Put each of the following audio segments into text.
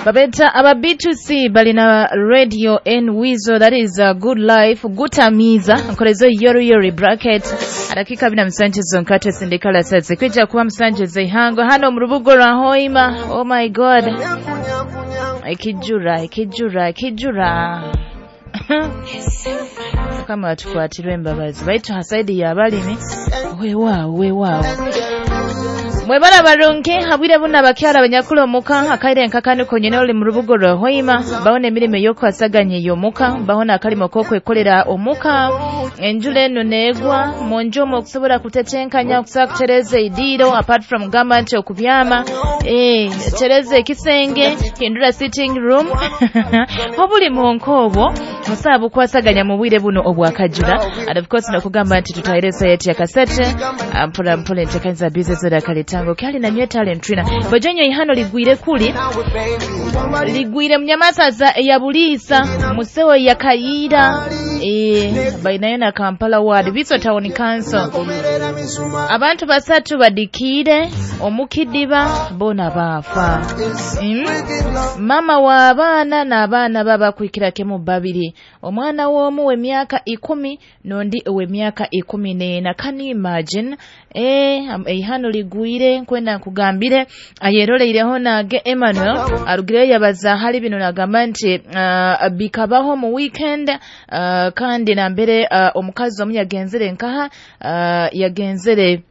Babeta aba B2C balina Radio N Weasel, that is a good life gutamiza nkolezo yori yori bracket adakika 27 zonkate sindikala sasa kwija kuba musanje zeihango hano mu rubugo rwa Hoima. Oh my God, ekijura ekijura ekijura kama tukwatirwe embabazi baitu hasaidi ya balimi weewaawo weewaawo. Mwebala barungi habwire buna bakyala abanyakula omuka akaire enkakani konyene oli mu rubugo rwa Hoima baona emirimo ey'okwasaganya ey'omuka baona akalimo k'okwekolera omuka enjula eno neegwa munju omwo okusobola kutetenkanya okusobola kutereza eidiiro apart from gamba nti okubyama tereza ekisenge hindura sitting room obuli mu obwo musaa bukwasaganya mu bwire buno obwakajura. And of course nokugamba nti tutahire sayeti ya kasete mpola mpola entekanyiza bize zoda kaletango kyali na nywe talent trina bojonyo ihano ligwire kuli ligwire mnyamasaza ya Buliisa musewo ya Kayira bainayo na Kampala Ward Biso Town Council. Abantu basatu badikire omukidiba bona bafa. Mama wa abaana n'abaana baba kwikira kemu babiri, omwana w'omu w'emyaka 10 n'ondi w'emyaka 14. Can you imagine? Eihano ligwire nkwenda nkugambire ayeroleireho nage Emmanuel arugireyo yabaza hali bino nagamba nti bikabaho mu weekend kandi nambere omukazi omu yagenzere nkaha yagenzere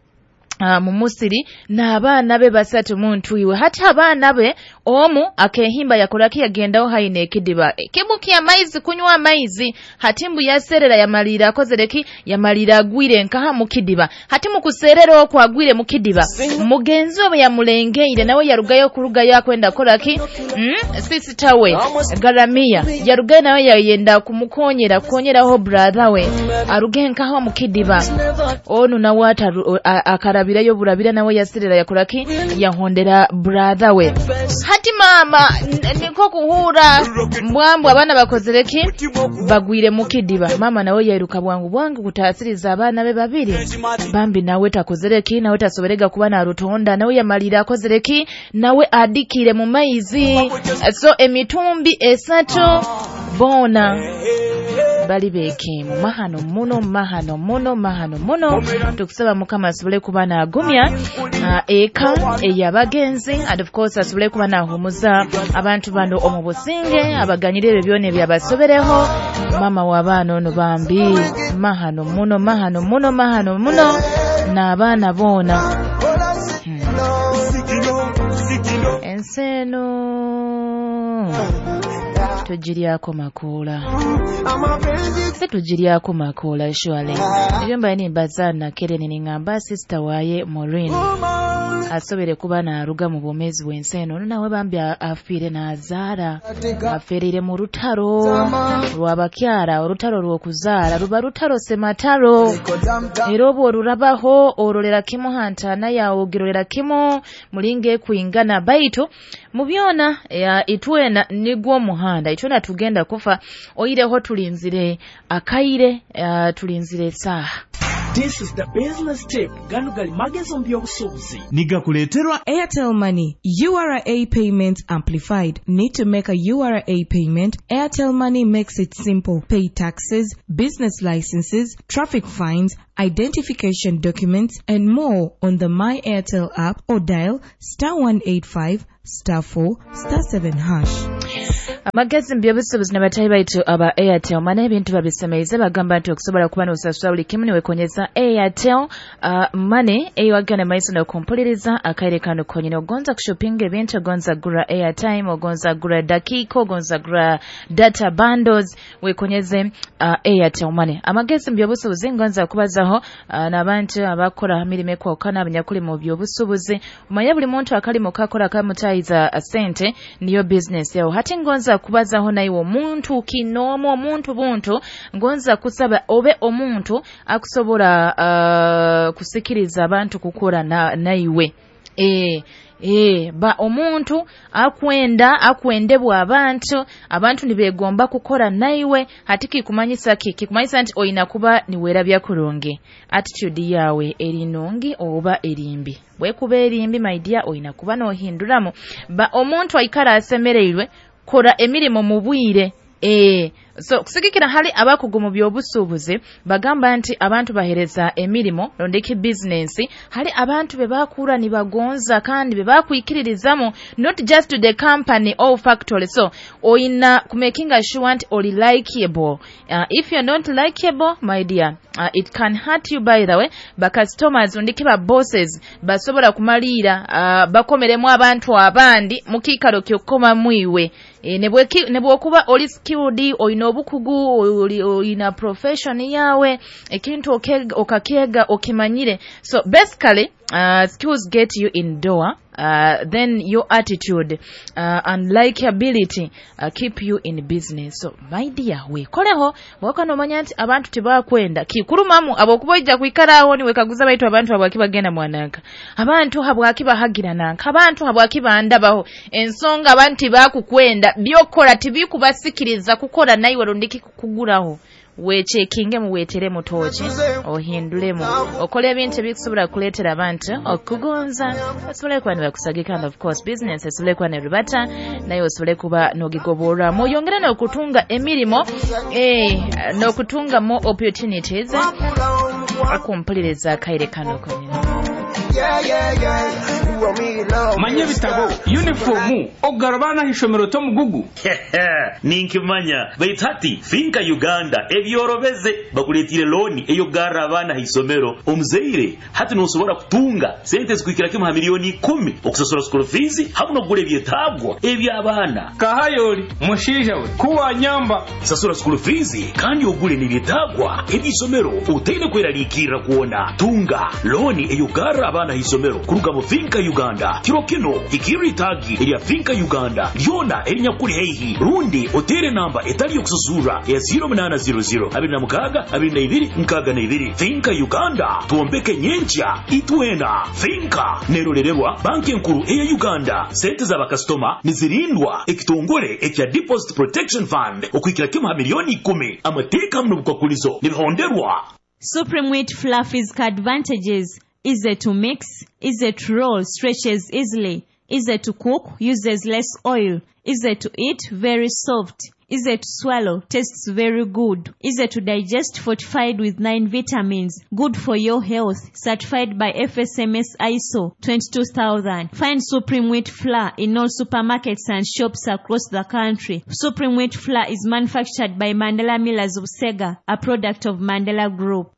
mu musiri n'abaana be basatu muntu iwe hata abaana be omu akehimba yakoraki yagendaho haine ekidiba kibuki amaizi kunywa amaizi hatimbu yaserera yamalira akozereki yamalira agwire nkaha mukidiba hati mukuserera okwo agwire mukidiba mugenzi we yamulengeire nawe yarugayo kurugayo akwenda koraki sister we garamia yarugayo nawe yayenda kumukonyera kukonyeraho brother we aruge nkaha mukidiba onu nawe akarabirayo burabira nawe yaserera yakoraki yahondera brother we. Hati mama niko kuhura mbwambwa abaana bakozereki bagwire mukidiba mama nawe yairuka bwangu bwangu kutasiriza abaana be babiri bambi nawe takozereki nawe tasoberega kuba narutonda nawe yamalira akozereki nawe adikire mu maizi. So emitumbi esatu bona bali bekimu mahano muno mahano muno mahano muno. Tukusaba Mukama asobole kuba naagumya eka eyabagenzi and of course asobole kuba naahumuza abantu bano omu businge abaganyire ebyo byona ebyabasobereho. Mama w'abaana ono bambi mahano muno mahano muno mahano muno n'abaana boona. Ensi eno tugiryako makoola se tugiryako makoola surely. Ebyo mbaye nimbaza nakere ningamba sister waye Maureen asobere kuba naaruga mu bwomezi bw'ensi eno nawe bambi afiire n'azaala afiirire mu rutaro lw'abakyala orutaro lw'okuzaala ruba rutaro semataro era obwo orurabaho orolera kimu hantana yawe ogirolera kimu mulinga ekwingana baitu mu byona itwena nigwo muhanda itwena tugenda kufa oireho tulinzire akaire tulinzire esaha. This is the business tip. Gano gali magezo mbyobusuubuzi. Nigakuleterwa Airtel Money. URA payment amplified. Need to make a URA payment? Airtel Money makes it simple. Pay taxes, business licenses, traffic fines, identification documents, and more on the My Airtel app or dial *185 *4 *7#. Amagezi mbyobusuubuzi n'abatayi baitu aba Airtel Money ebintu babisemeize bagamba nti okusobola kuba n'osasula buli kimu niwekonyeza Airtel Money eyewagana maiso n'okumpuliriza akaire kano konyene. Ogonza kushopinga ebintu, ogonza gura airtime, ogonza gura dakika, ogonza gura data bundles, wekonyeze Airtel Money. Amagezi mbyobusuubuzi ngonza kubazaho n'abantu abakora mirimo ekwawukana abanyakuli mu byobusuubuzi. Omanye buli muntu akalimo kakora kamutayiza sente niyo business yawe. Hati ngonza kubazaho naiwe omuntu kinomo omuntu buntu ngonza kusaba obe omuntu akusobola kusikiriza abantu kukora naiwe. Ba omuntu akwenda akwendebwa abantu, abantu nibegomba kukora naiwe. Hati kikumanyisa ki? Kikumanyisa nti oyina kuba niwerabya kurungi, attitude yawe eri nungi oba erimbi. Bwekuba erimbi, my dear, oyina kuba nohinduramu. Ba omuntu aikara asemereirwe, kora emirimo mu bwire. So kusigikira hali abakugu mu by'obusuubuzi bagamba nti abantu bahereza emirimo rondeki business hali abantu be bakura nibagonza kandi be bakwikiririzamu, not just to the company or factory. So oyina kumakinga sure nti oli likeable. If you're not likeable, my dear, it can hurt you. By the way, ba customers ndiki ba bosses basobola kumaliira bakomeremu abantu abandi mu kiikaro kyokoma mwiwe. Nebwokuba oli skilled, oyina obukugu, oyina profession yawe, ekintu okakyega okimanyire. So basically, skills get you in door, then your attitude and likability keep you in business. So my dear, wekoleho bwoka nomanya nti abantu tebakwenda kikulumamu abokuba ojja kwikara awo niwekaguza baitu abantu habwaki bagenda mwananka, abantu habwaki bahagira nanka, abantu habwaki bandabaho. Ensonga abantu tibakukwenda, byokola tibikubasikiriza kukora naiwe rundiki kukuguraho. Wechekinge muwetere mutoki ohindulemu okole ebintu ebikusobola kuleetera abantu okugonza, osobole kuba nibakusagika, and of course business esobole kuba nerubata naye osobole kuba nogigoborwamu, oyongere n'okutunga emirimo, n'okutunga more opportunities. Akumpuliriza akaire kano konyini. Manye ebitabo, yunifomu, okugara abaana ah'ishomero tomugugu. Ninkimanya, baitu hati Finka Uganda ebyorobeze bakuleetire looni ey'okugarra abaana haisomero. Omuzaire hati nosobora kutunga sente zikuhikira kimu ha miliyoni 10 okusasura school fees hamu n'okugura ebyetaagwa eby'abaana. Kahayoli mushaija we kuwanyamba. Sasura school fees kandi ogule n'ebyetaagwa eby'isomero otaine kweraliikirra kwona. Tunga looni ey'okugarra abaana haisomero kuruga mu Finka Uganda. Kiro kino hikirra itaagi erya Finka Uganda lyona erinyakuli haihi, rundi otere namba etali yokusasurra ya 0800 26 22 62. Finka Uganda, twombeke nyenkya itwena. Finka nerorererwa banki enkuru eya Uganda. Sente z'abakasitoma nizirindwa ekitongole ekya Deposit Protection Fund okuhikira kimu ha miliyoni 10. Amateeka hamu n'obukwakulizo nibihonderwa. Supreme Wheat Fluffy's advantages: easy to mix, easy to roll, stretches easily, easy to cook, uses less oil, easy to eat, very soft, easy to swallow, tastes very good, easy to digest, fortified with 9 vitamins, good for your health, certified by FSMS ISO 22000. Find Supreme Wheat Flour in all supermarkets and shops across the country. Supreme Wheat Flour is manufactured by Mandela Millers of Sega, a product of Mandela Group.